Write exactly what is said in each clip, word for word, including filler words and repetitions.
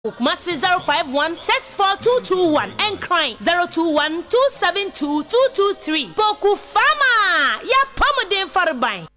Kumasi zero five one six four two two one Nkran zero two one two seven two two two three Poku Farmer yɛ pɔmuden fareban.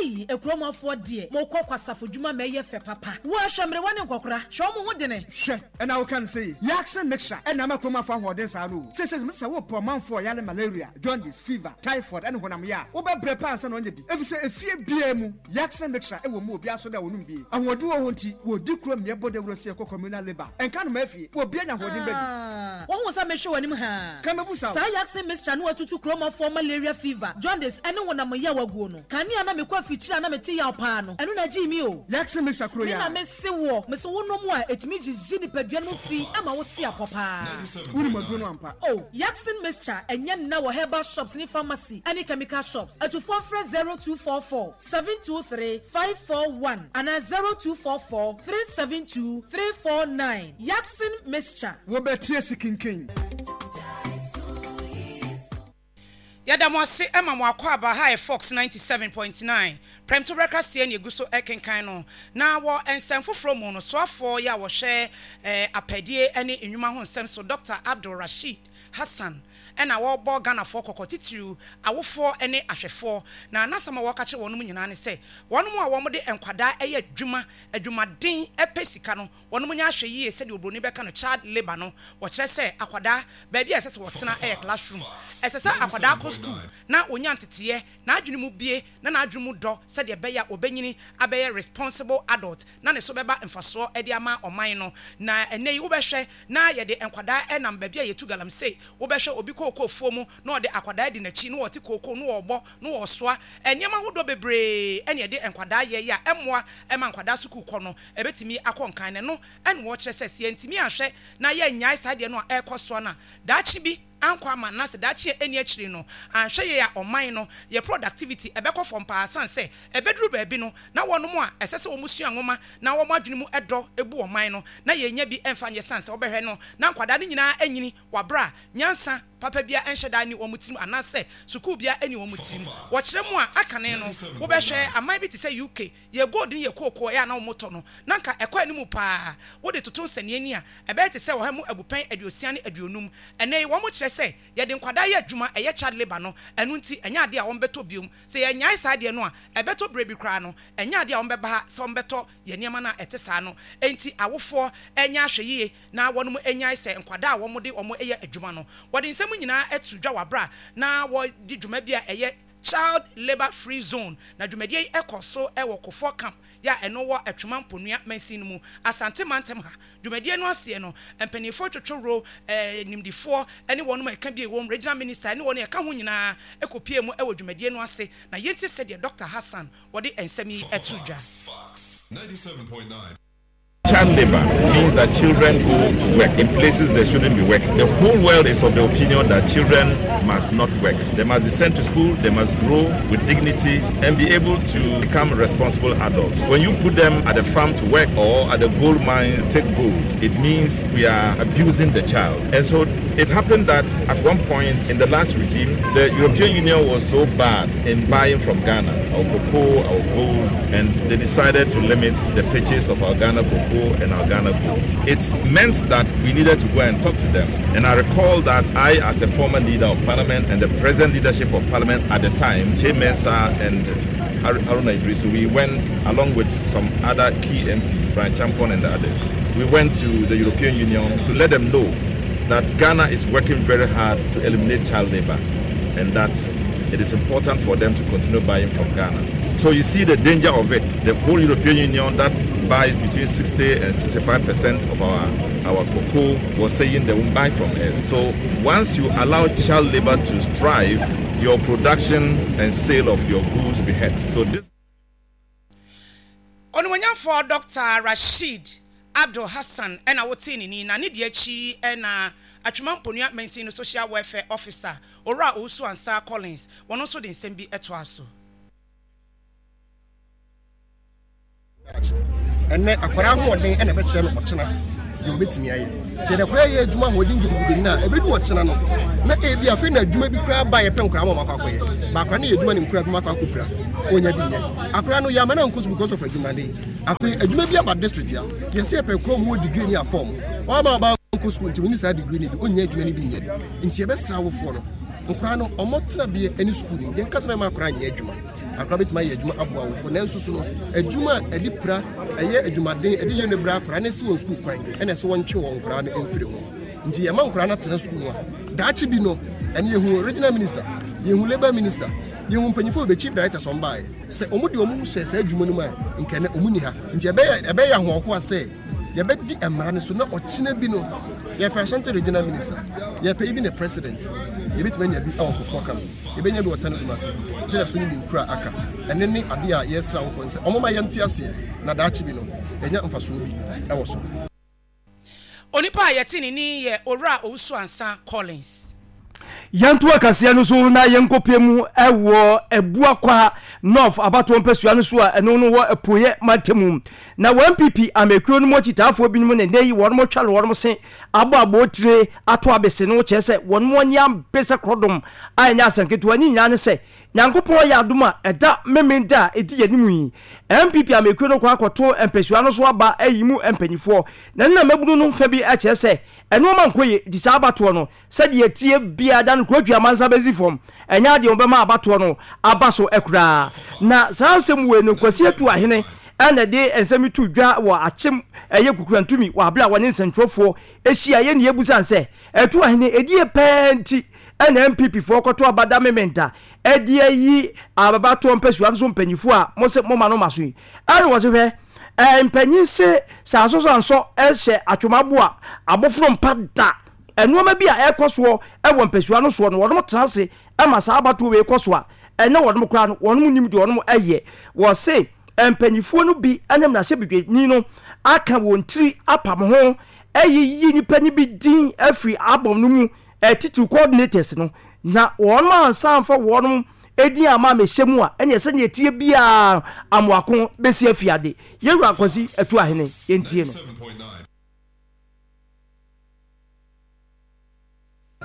Ei akuromafoɔ deɛ mokɔ kwasafo dwuma ma ɛyɛ fɛ papa. Wo a hwɛ mmerewa ne nkɔkora hwɛ wɔn ho dene. Hwɛ ɛna woka no sei Yaksin mixture ɛna ama kuromafoɔ ahoɔden saa no o. Seesei mese sɛ wopɛ ɔmanfoɔ a ɔyare malaria, jaundice, fever, typhoid ɛne honam ya a wobɛbrɛ paa ansa na wanya bi efisɛ efie biara mu Yaksin mixture ɛwɔ mu obiara so dɛ ɔnom bi. Ahoɔden wɔ hɔ nti wɔdi kuro mmea bɔ dawuro sɛ yɛkɔ communal labour ɛnka nnomaa fie obiara nya ahoɔden ba bi. Ah, woahu sɛ mehwɛ w'anim haa. Ka mɛbu sa o. Saa Yaksin mixture no atutu kuromafoɔ malaria, fever, jaundice ɛne honam yaw aguo no. Kanea na mekɔ afikyiri a na mete yaw paa no, ɛno na ɛgyee me o. Yaksin mixture kuro Me yi na a. mese woɔ, mese wonom a, ɛtumi gyigye nipadua no mu fi ma wo se apɔ paa. Wonim aduro no ampa. Oh, Yaksin mixture ɛnyɛ nna wɔ herbal shops ne pharmacy ɛne chemical shops. Atufoɔ mfrɛ zero two four four seven two three five four one anaa zero two four four three seven two three four nine. Yaksin mixture. Wobɛte asi kinkin. Yɛda mo ase ma mo akwaaba ha yɛ Fox ninety seven point nine Prɛmto berɛ kaseɛ na yɛgu so rekenkan no. Na wɔ nsɛm foforɔ mu no, soafoɔ yi a wɔhwɛ apɛdie ne nnwuma ho nsɛm so, Dɔkta Abdul Rasheed Hassan na ɔrebɔ Ghanafoɔ kɔkɔ, titiriw awofoɔ ne ahwɛfoɔ. Na n'asɛm a ɔreka kyerɛ wɔnom nyinaa ne sɛ, wɔnom a wɔde nkwadaa yɛ adwuma, adwumaden pɛ sika no, wɔnom nyɛ ahwɛyie sɛdeɛ obroni bɛka no child labour no. Wɔkyerɛ sɛ akwadaa, baabi a ɛsɛ sɛ wɔtena yɛ classroom. Ɛsɛ sɛ akwadaa kɔ sukuu na ɔnya nteteɛ, n'adwene mu bue na n'adwene mu dɔ sɛdeɛ ɛbɛyɛ a ɔbɛnyini abɛyɛ responsible adult na ne so bɛba mfasoɔ de ama ɔman no. Na ɛnnɛ yi wobɛhwɛ na yɛde nkwadaa nam baabi a yɛtu galamsey, wobɛhwɛ obi kookoofuo mu na ɔde akwadaa adi n'akyi na ɔte kookoo na ɔrebɔ na ɔresoa nneɛma ahodoɔ bebree ɛne yɛde nkwadaa yɛ yi a ɛmmoa ma nkwadaa sukuu kɔ no ɛbɛtumi akɔ nkan. Na ɛno ɛne wɔkyerɛ sɛ sɛ yɛntumi anhwɛ na yɛnnyae saa deɛ no a ɛrekɔ soɔ no a, daakye bi ankɔ ama anaasɛ daakye a ɛnni akyiri no anhwɛ yie a, ɔman no yɛ productivity ɛbɛkɔ fam paa sane sɛ ɛbɛduru baabi no na wɔnom a ɛsɛ sɛ wɔn sua nwoma na wɔn adwene mu dɔ bu ɔman no na yɛnnya bi mfa nyɛ sane sɛ wobɛhwɛ no na nkwadaa no nyinaa anyini wɔ aberɛ a nyansa papa biara nhyɛ da nni wɔn tirim anaasɛ sukuu biara nni wɔn tirim. Wɔkyerɛ mu a, akane no wobɛhwɛ aman bi te sɛ U K, yɛ gold ne yɛ kookoo ɛyɛ a na wɔtɔ no na nka ɛkɔ anim paa. Wode toto nsɛnneani a, ɛbɛyɛ te sɛ ɔha mu abupɛn aduosia ne aduonum. Ɛnnɛ yi wɔn kyerɛ sɛ yɛde nkwadaa yɛ adwuma, ɛyɛ child labour no, ɛno nti ɛnyɛ adeɛ a wɔbɛtɔ biom. Sɛ yɛnnyae saa adeɛ no a, ɛbɛtɔ berɛ bi koraa no, ɛnyɛ adeɛ a wɔbɛba ha sɛ wɔbɛtɔ yɛn nneɛma no a ɛte saa no. Enti awofoɔ nyɛ ahwɛyie na wɔnom nnyae sɛ nkwadaa a wɔde wɔn yɛ adwuma no. Wɔde nsɛm nyinaa ato dwa wɔ aberɛ a na wɔdi dwuma bi a ɛyɛ Child Labour Free Zone, na dwumadie yi kɔ so wɔ Kofoɔ Camp yɛ a ɛno wɔ Atwima Mponua mansin no mu, Asante mantam ha. Dwumadie no aseɛ no, mpanimfoɔ twotworo, nimdifoɔ ne wɔnom a ɛka bi wɔ mu, Regional Minister ne wɔn a ɛka ho nyinaa kɔpuee mu wɔ dwumadie no ase, na yɛntie sɛdeɛ Doctor Hassan wɔde nsɛm yi to dwa. Child labor means that children go to work in places they shouldn't be working. The whole world is of the opinion that children must not work. They must be sent to school, they must grow with dignity and be able to become responsible adults. When you put them at the farm to work or at the gold mine to take gold, it means we are abusing the child. And so it happened that at one point in the last regime, the European Union was so bad in buying from Ghana, our cocoa, our gold, and they decided to limit the purchase of our Ghana cocoa and our Ghana gold. It meant that we needed to go and talk to them. And I recall that I, as a former leader of parliament and the present leadership of parliament at the time, Kyei Mensah and Haruna Iddrisu, we went along with some other key M Ps, Bryan Acheampong and the others. We went to the European Union to let them know that Ghana is working very hard to eliminate child labor and that it is important for them to continue buying from Ghana. So you see the danger of it. The whole European Union that buys between sixty and sixty-five percent of our, our cocoa was saying they won't buy from us. So once you allow child labor to thrive, your production and sale of your goods be hurt. So this Onimuonyamfoɔ Doctor Rasheed Abdul Hassan ɛna wotee ne ni, na ne deɛ akyi ɛna Atwima Mponua mansin no social welfare officer, Owura Owusu Ansa Collins, wɔn nso de nsɛm bi ɛtoa so. Ɛnɛ akwadaa ahoɔden ɛna ɛbɛkyerɛ no ɔkyena deɛ ɔbɛtumi ayɛ. Sɛ yɛde akwadaa yɛ adwuma ahoɔden gidigidi no a, ɛbɛdu ɔkyena no na ebi afei na adwuma bi koraa ba, yɛpɛ nkwadaa ma ɔmo akɔ akɔyɛ baakora ne yɛ adwuma ne nkura bi mu akɔ akɔpira. Ɔnya bi nyɛ akora no yɛama no ankɔ so because of adwumaden. Afei adwuma bi aba district a yɛsɛ yɛpɛ kurom wɔ degree ne afɔm ɔama ɔba nkɔ school, nti wɔni saa degree no bi, ɔnya adwuma no bi nyɛ. Nti yɛbɛsrɛ awofoɔ no, nkora no ɔmɔ tena bie ne school no. Yɛnka sɛ mɛma akora nyɛ adwuma, akora bɛtumi ayɛ adwuma aboa awofoɔ, nanso so no adwuma a ɛde pira ɛyɛ adwumaden ɛde yɛ no bra akora ne si wɔn sukuu kwan ɛna ɛsɛ wɔntwe wɔn nkora no mfiri ho. Nti yɛma nkora no atena sukuu mu a, daakye bi no ɛne yɛhu regional minister, yɛhu labour minister, yɛhu mpanyinfoɔ bɛ chief director sɔn baayɛ sɛ ɔmo de ɔmo hyɛ saa adwuma no mu a, nkɛnɛ ɔmo ni ha. Nti ɛbɛyɛ ɛbɛyɛ ahoɔhoa sɛ yɛbɛdi mmara no so na ɔkyena bi no yɛpɛ Ashanti Regional Minister, yɛpɛ even the president, yɛbɛtumi anya bi ɛwɔ Kofoɔ kam, yɛbɛnya bi wɔ Tano Dumase gyina so ne ne nkura aka. Ɛne ne adeɛ a yɛsrɛ awofoɔ no sɛ ɔmo ma yɛnte aseɛ na daakye bi no yɛnya mfasoɔ bi ɛwɔ so. Onipa a yɛte ne ni yɛ Owura Owusu Ansa Collins. Yɛnto akaseɛ no so na yɛnkɔpie mu ɛwɔ Abuakwa North abatoɔ mpasua no so a ɛno no wɔ Apueɛ mantamu, na wɔ N P P amekuo no mu akyitaafoɔ binom ne nnɛ yi wɔn twa no wɔn se abɔ abɔtire ato abese no, kyerɛ sɛ wɔn mu ani abe sɛ korɔdom a ɛnyɛ asɛnketewa. Ne nyinaa ne sɛ Nyankopɔn yɛ adom a, ɛda Memenda a ɛdi yɛn mu yi, N P P amekuo no kɔ akɔto mpasua no so aba ayi mu mpanyinfoɔ, na ne na mabunu no fa bi kyerɛ sɛ ɛnoɔma nkɔ yie. Nti saa abatoɔ no, sɛdeɛ tie biara da no kurodua amansa bɛsi fam, ɛnyɛ adeɛ wɔbɛma abatoɔ no aba so koraa. Na saa nsɛm wei no, Kwasi Atu Ahene ɛna de nsɛm yi to dwa wɔ Akyem ɛyɛ Kukurantumi wɔ abere a wɔne nsɛntwerɛfoɔ ahyia. Yɛ ne yɛbusa sɛ Atu Ahene ɛdie pɛɛ nti ɛna N P P foɔ kɔto abada Memenda ɛde ayi ababatoɔ mpasua no so mpanyinfoɔ a mo sɛ mo ma no ma so yi? Ɛna wɔ se hwɛ, ɛɛ mpanyin se sɛ asosɔ ansɔ ɛhyɛ atwomabo a abɔforo mpa da. Nneɛma bi a ɛkɔ soɔ ɛwɔ mpasua no soɔ no, wɔn tena ase ɛma saa abatoɔ wei kɔ so a, ɛnɛ wɔn koraa no wɔn nim deɛ wɔn ɛyɛ. Wɔse mpanyinfoɔ no bi ɛne mmarahyɛbadwani no aka wɔn tiri apam ho ɛyiyi nipa no bi din afiri abɔm no mu, ɛtitiri coordinators no, na wɔn ansa nfa wɔn edin ama amehyɛ mu a, ɛnna sɛnea etie biara amoako besi afiade. Yɛwura Akwasi Atu Ahene, yɛntie no.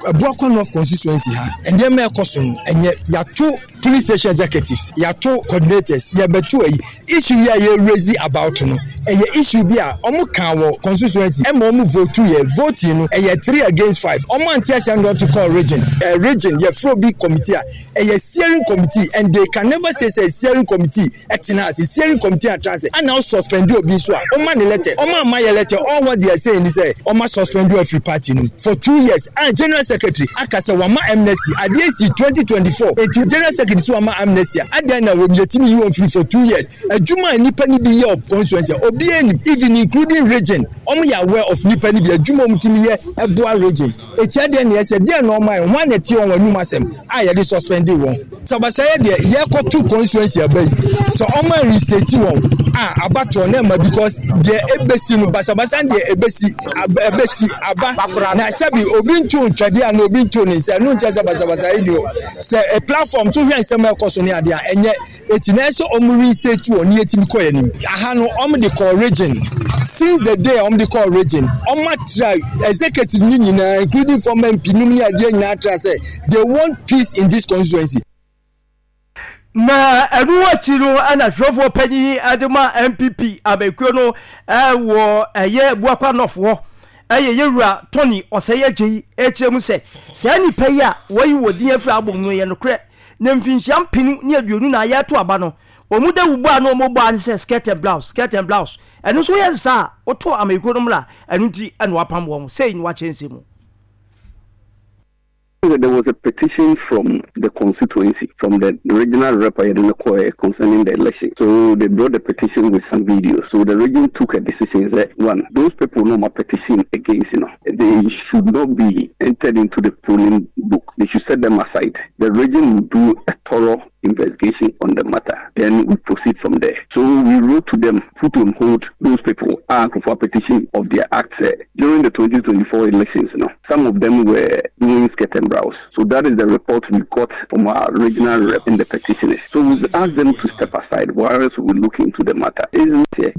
Abuakwa North constituency ha, nneɛma ɛkɔ so no ɛnyɛ. Yɛato police station executives, yɛato coordinators, yɛbɛto ayi. Issue yi a yɛ raise about no, ɛyɛ issue bi a ɔmo kan wɔ constituency ɛma ɔmo vote. Yɛ voting no ɛyɛ three against five. Ɔmo ante aseɛ no ɔto kɔɔ region. Ɛ region yɛfrɛ obi committee a ɛyɛ steering committee, and they can never say say steering committee ɛtena ase. Steering committee atena ase ɛna ɔ suspend obi nso a ɔma ne letter, ɔma ama yɛ letter. All what they are saying ni sɛ ɔma suspend afiri party no for two years, and general secretary aka sɛ wama amnesty. Adeɛ si twenty twenty-four, eti general secretary sɛ wama amnesty a, adan na wɔn yɛtumi yi wɔn firi for two years? Adwuma a nipa ni bi yɛ wɔ constituency a obiara nim, even including region, wɔn yɛ aware of nipa ni bi adwuma wɔn tumi yɛ ɛboa region. Eti adeɛ na yɛsɛ deɛ na ɔmo ayɛ wɔn a na ɛte wɔn anum asɛm a yɛde suspend wɔn sabasayɛ deɛ yɛkɔto constituency aba yi sɛ ɔmo a reinstate wɔn a abatoɔ na ɛma, because deɛ ebesi no basabasa deɛ ebesi aba, ebesi aba na sɛbi obi nto ntwɛdeɛ a na obi nto ne nsa, ɛno nkyɛn sɛ basabasa yi deɛ sɛ a platform to hwɛ nsɛm a ɛkɔ so ne adeɛ a ɛnyɛ. Eti na ɛsɛ ɔmo reinstate wɔn ne yɛtumi kɔ yɛn anim. Aha no, ɔmo de kɔ region. Since the day ɔmo de kɔ region, ɔmo atra executive ni nyinaa, including former M P num ne adeɛ nyinaa atra sɛ they want peace in this constituency. Na ɛno akyi no, ɛna twerɛfoɔ panyin ɛde ma N P P abɛkuo no ɛwɔ ɛyɛ Buakwa North hɔ, ɛyɛ yɛwura Tony Ɔsɛyɛ gye yi, ɛkyerɛ mu sɛ saa nipa yi a wɔyi wɔ din afiri abɔ mu no yɛ nokorɛ, na mfinhyia mpenu ne aduonu na yɛto aba no, wɔn da wubɔ a na wɔn bɔ a ne sɛ skirt and blouse, skirt and blouse. Ɛno nso yɛ nsa a woto amekuo no mmra. Ɛno nti ɛna wapam wɔn sei na wakyerɛ nsɛm mu. There was a petition from the constituency, from the regional rep concerning the election. So they brought the petition with some videos. So the region took a decision that one, those people no more petition against, you know, they should not be entered into the polling book. They should set them aside. The region will do a thorough investigation on the matter. Then we proceed from there. So we wrote to them, put on hold those people and for petition of their acts uh, during the twenty twenty-four elections. You know, some of them were doing skirt and blouse. So that is the report we got from our regional rep in the petitioners. So we asked them to step aside whilst we look into the matter. Isn't it?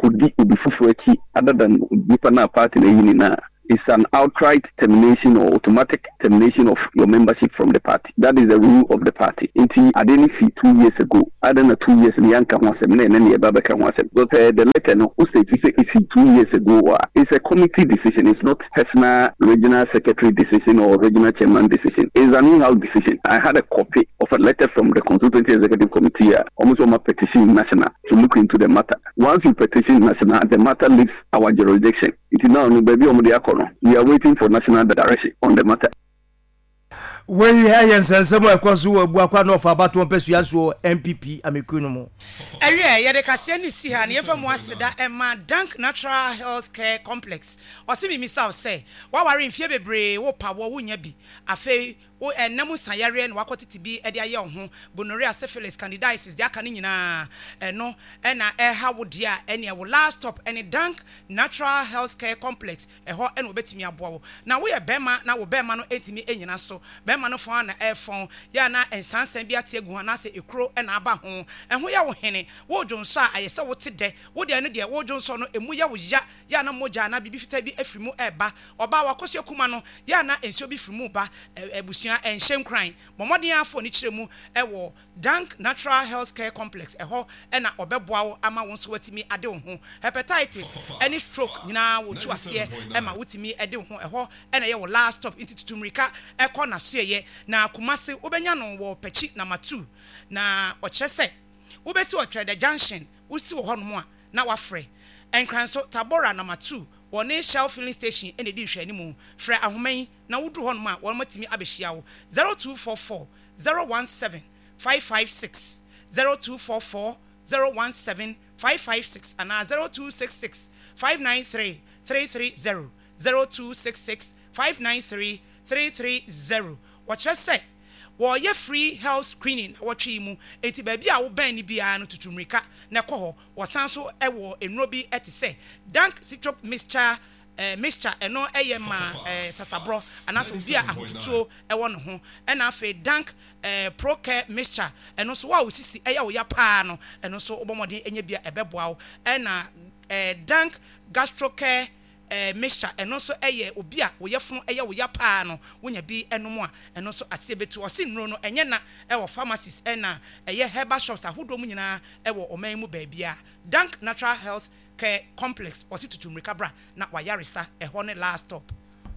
Kodi obi foforɔ akyi other than nipa na party na yi nyinaa. It's an outright termination or automatic termination of your membership from the party. That is the rule of the party. Nti ade no fi two years ago. Adɛn na two years no yɛanka ho asɛm na ɛnɛ ne yɛba bɛka ho asɛm? Because uh, the letter no, wo state sɛ ɛsi two years ago a, it's a committee decision. It's not personal regional secretary decision or regional chairman decision. It's an in-house decision. I had a copy of a letter from the constituency executive committee, uh, almost on my petition national to look into the matter. Once you petition national, the matter leaves our jurisdiction. It is now no baabi a wɔde akɔ no. We are waiting for national direction on the matter. Wei yɛ nsɛnsɛm a ɛkɔ so wɔ Abuakwa North abatoɔ mpasua soɔ N P P amekuo no mu. Ɛwiɛ, yɛde kaseɛ no si ha na yɛmfa mu aseda ɛma Dank Natural Health Care Complex. Ɔse mimisa wo sɛ woaware mfie bebree, wo pa wɔ wonya bi, afei wo ɛnam nsayareɛ na wakɔ bi de ayɛ wo ho, gonorrhea, syphilis, candidiasis, deɛ aka no nyinaa ɛno ɛna ɛha wo deɛ a, ɛneɛ wo last stop ɛne Dank Natural Health Care Complex. Ɛhɔ ɛna wɔbɛtumi aboa wo. Na woyɛ bɛrima na wo bɛrima no ɛntumi ɛnyina so, bɛrima no fɔn na ɛfɔn yɛ na nsansan bi ate agu ho anaasɛ ekuro ɛna aba ho, ɛho yɛ wo hene, wodwo nso a ayɛ sɛ wote dɛ, wo deɛ no deɛ wodwo nso no emu yɛ wo ya, yɛ ana mogya ana biribi fitaa bi afiri mu ɛɛba. Ɔbaa wakɔsua kuma no, yɛ ana nsuo bi firi mu ba. Abusua, ɛnhyɛ nkran, bɔ mmɔden afɔ ne kyerɛ mu ɛwɔ Dank Natural Health Care Complex. Ɛhɔ ɛna ɔbɛboa wo ama wo nso watumi ade wo ho. Hepatitis ɛne stroke nyinaa wɔtu aseɛ ɛma wotumi ɛde wo ho. Ɛhɔ ɛna ɛyɛ wɔ last stop, nti tutu mmirika ɛkɔ n'asoɛyɛ. Na Kumase wobɛnya no wɔ Pɛkyi number two, na ɔkyerɛ sɛ wobɛsi wɔ Twɛdɛ Junction. Wosi wɔ hɔnom a na wafrɛ. Nkran so Tabora number two, wɔne Shell filling station ɛna edi nhwɛanimu. Frɛ ahoma yi na woduru hɔnom a wɔn atumi abɛhyia wo: zero two four four zero one seven five five six, zero two four four zero one seven five five six, anaa zero two six six five nine three three three zero, zero two six six five nine three three three zero. Wɔkyerɛ sɛ wɔyɛ free health screening na wɔtwe yi mu, eti baabi a wobɛn no biara no, tutu mmirika na ɛkɔ hɔ. Wɔsan so wɔ nnuro bi te sɛ Dank Citrop mixture, ɛɛ mixture ɛno ɛyɛ ma ɛɛ sasaborɔ anaasɛ obi a ahotutuo ɛwɔ ne ho. Ɛna afei Dank ɛɛ Procare mixture, ɛno nso wo a osisi ɛyɛ wo ya paa no, ɛno nso wobɔ mmɔden ɛnyɛ bi a ɛbɛboa wo. Ɛna ɛɛ Dank Gastrocare ɛɛ mixture, ɛno nso ɛyɛ obi a woyɛ funu ɛyɛ wo ya paa no, wonya bi ɛnom a, ɛno nso aseɛ bɛtu. Ɔsi nnuro no ɛnyɛ na ɛwɔ pharmacies ɛna ɛyɛ herbal shops ahodoɔ mu nyinaa ɛwɔ ɔman mu baabi a. Dank Natural Health Care Complex, ɔsi tutu mmirika bra na wayaresa, ɛhɔ ne last stop.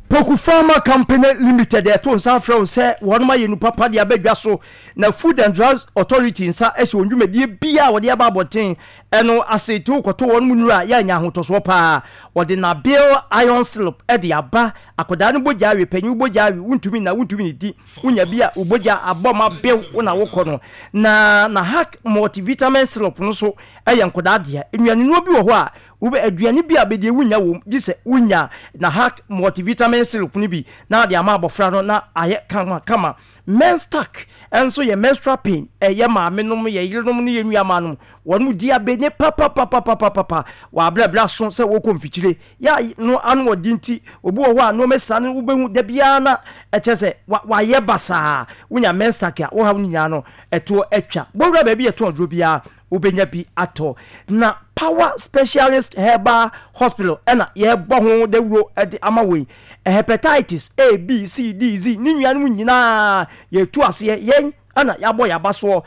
Poku Pharma Company Limited ɛto nsa afrɛ wo sɛ wɔnom ayɛ nu papa de abɛdwa so, na Food and Drugs Authority nsa ɛhyɛ wɔn dwumadie bia a wɔde aba abɔnten ɛno ase te. Wokɔto wɔn mu nnuro a yɛanya ahotɔsoɔ paa. Wɔde Nabil iron syrup ɛde aba. Akwadaa no bogya awe, panyin bogya awe, wontumi na wontumi ne di, wonya bi a wobogya abɔ ma bew wo na wokɔ no. Na na Hack multivitamin syrup no so ɛyɛ nkwadaa deɛ. Nnuane bi wɔ hɔ a wobɛ aduane bi a bɛdeɛ wonya wɔ mu gye sɛ wonya na Hack multivitamin syrup no bi na de ama abɔfra no na ayɛ kama kama. Menstack ɛnso yɛ menstrual pain, ɛyɛ maame nom, yɛ yerenom ne yɛ nuamaa nom, wɔn mu di abe ne papapapapapa wɔabrɛbrɛ so sɛ wɔkɔ mfikyire yɛ no ano ɔdi. Nti obi wɔ hɔ a nneɛma saa no wobɛhu da biara na ɛkyɛ sɛ wayɛ basaa. Wonya Menstack a, wɔhaw no nyinaa no ɛtoɔ atwa. Bɔwura baabi yɛtɔn aduro biara, wobɛnya bi atɔ. Na Power Specialist Herbal Hospital ɛna yɛbɔ ho dawuro ɛde ama wei. Hepatitis A, B, C, D, Z ne nuanom nyinaa yɛtu aseɛ. Yɛn ɛna yɛabɔ yɛaba soɔ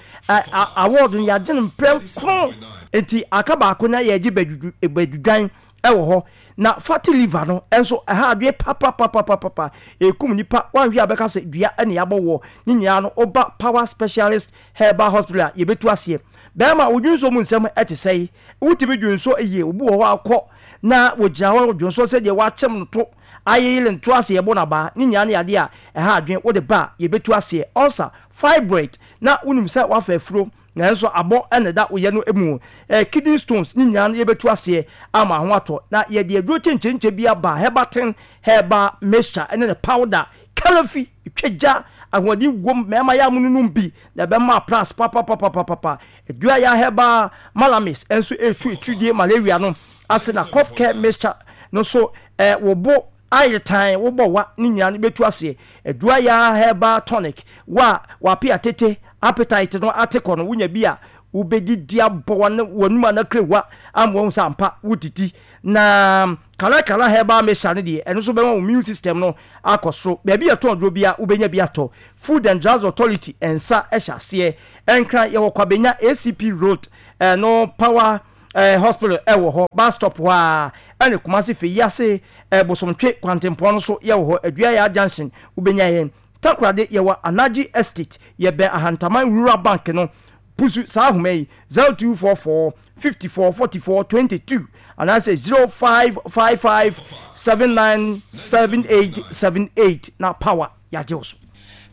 award no, yɛagye no mprɛ nkron, nti aka baako na yɛgye badwudwan ɛwɔ hɔ. Na fatty liver no ɛnso ɛha adwene papapapapapa, ekum nipa. Wanhwɛ a bɛka sɛ dua ɛna yɛabɔ wɔ ne nyinaa no. Ɔba Power Specialist Herbal Hospital a, yɛbɛtu aseɛ. Bɛrima wodwonso mu nsɛm ɛte sɛe, wotumi dwonso yie? Obi wɔ hɔ akɔ na wɔgyina hɔ dwonso sɛdeɛ wakyɛm no to ayeyere nto ase, yɛbɔ n'abaa ne nyinaa ne yadeɛ a ɛha adwene. Wode ba a, yɛbɛtu aseɛ. Ulcer, fibroid, na wonim sɛ wafa afuro nanso abɔ ɛna da woyɛ no mu, ɛɛ kidney stones ne nyinaa no yɛbɛtu aseɛ ama ho atɔ. Na yɛde aduro kyenkyenkyen bi aba, Herbatin herbal mixture ɛne ne powder kalafi twagya, ahoɔden wom. Mmarima yɛ amono nom bi na ɛbɛma plus papapapapapa. Adua yɛ herbal malamis nso etu etuidie malaria no ase. Na cough care mixture no nso ɛɛ wɔbɔ ayɛ tan wobɔ wa ne nyinaa no bɛtu aseɛ. Adua yɛ herbal tonic wa wape atete, appetite no ate kɔ no, wonya bi a Wobɛdidi abɔ w'anum anakrewa ama wɔn sɛ ampa wodidi. Na Kalakala Herbal Mixture no deɛ, ɛno nso bɛma wo immune system no akɔ soro. Baabi yɛtɔn aduro bia wobɛnya bi atɔ. Food and Drugs Authority nsa hyɛ aseɛ. Nkran yɛwɔ Kwabenya A C P Road, ɛno Power eh, Hospital ɛwɔ hɔ, bus stop hɔ a. Ɛne Kumasi Feyiase, eh, Bosomtwe Kwantempɔn no so yɛwɔ hɔ, Aduaya Junction wobɛnya yɛn. Takoradi yɛwɔ Anaji Estate, yɛbɛn Ahantaman Rural Bank no. Pusu saa ahoma yi zero two four four fifty four forty four twenty two anaasɛ zero five five five seven nine seven eight seven eight na power yagye wo so.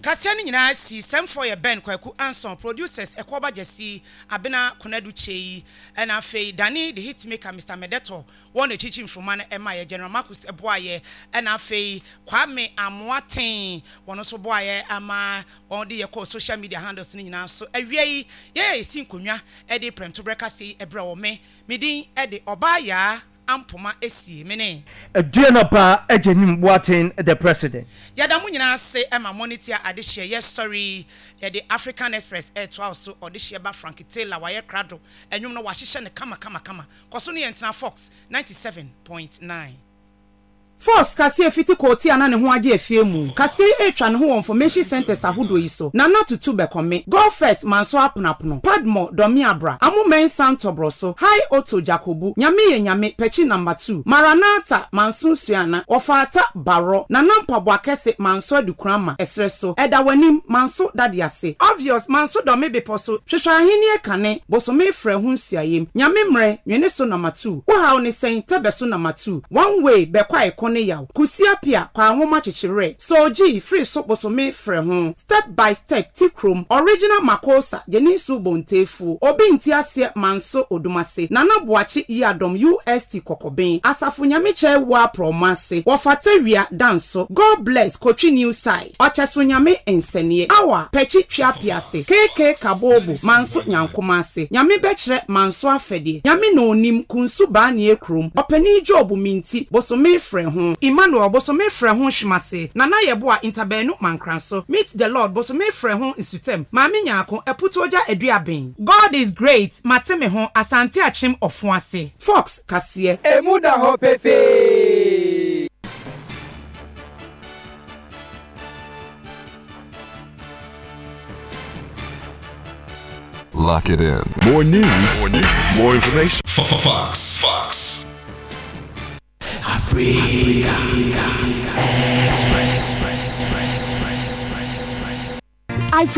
Kaseɛ no nyinaa si sɛmfoɔ yɛ Ben Kwaku Anson, producers Ɛkɔɔba Gyasi, Abena Konadu Kyei, ɛna afei Danny the Hitmaker, Mister Medeto, wɔn na ɛkyikyi mfroma no ɛma yɛ, General Marcus ɛboayɛ, ɛna afei Kwame Amoaten, wɔn nso boayɛ ama wɔn de yɛ kɔɔ social media handles no nyinaa so. Awia yi, yɛyɛ yɛsi nkonnwa ɛde prɛmtoberɛ kaseɛ yi ɛbrɛ wɔ me, me din ɛde Ɔbaa Yaa Ampoma Esie mene. Aduana Ba Agyenim Boateng the president. Yɛda mo nyinaa ase ma monitia adehyeɛ yɛ sɔre yɛde African Express ɛtoa so ɔdehyeɛ ba Frank Taylor wayɛ krado ɛnwom no wahyehyɛ no kama kama kama kɔ so ne yɛn tena Fox ninety seven point nine. Fox kaseɛ fiti kɔɔti a na ne ho agye afie mu. Kaseɛ yi retwa ne ho wɔ information centres ahodoɔ yi so, Nana Tutu Bɛkɔme, Go First Manso Aponapono, Padmore Dɔmeabra, Amo Mensah Ntɔbrɔso, High Otto Jakobu, Nyame Yɛ Nyame Pɛkyi Number two, Maranatha Manso Suana, Wɔfaata Barɔ, Nana Mpaboa Kɛse Manso Adukurama, Ɛserɛ so, Ɛda W'anim Manso Dade Ase, Obvious Manso Dɔme Bepɔ so, Hwehwɛ Ahennie Kane, Bosome Frɛ Ho Nsuayem, Nyame Mmerɛ, Nwene So Number two, Wo Haw Ne Sɛn, Tɛbɛ So Number two, One Way Bɛkɔ Ɛko Ne Yaw, Kusi Apia, Kwa Nwoma Kyekyerɛ, Soji, Firi So Bosome Frɛ Ho, Step by Step, Ti Kurom, Original Makosa, Jenisu Bontefu, Obi Nti Aseɛ Manso Odumase, Nana Boakye Yiadom U S T Kɔkɔben, Asafo Nyame Kyɛ Wa Prɔmase, Wɔfata Wia Danso, God Bless Kotwi New Side, Ɔkyɛso Nyame Nsɛneɛ, Awa, Pɛkyi Twia Piase, K K Kabobo, Manso Nyankomase, Nyame Bɛkyerɛ Manso Afɛdeɛ, Nyame na Onim, Kunsu Baanie Kurom, Ɔpani Job Minti, Bosome Frɛ Ho, Emmanuel Bosome Frɛ Ho Hwemase, Nana Yɛboa Ntabanu Mankranso, Meet the Lord Bosome Frɛ Ho Nsutam, Maame Nyaako, Aputuogya Aduaben. God is great, Mate Me Ho, Asante Akyem Ɔfoase. Fox Kaseɛ. Emu da hɔ pefee. Lock it in. More news, more news, more information. Fox, Fox. Africa Express. Express. Express. Ivory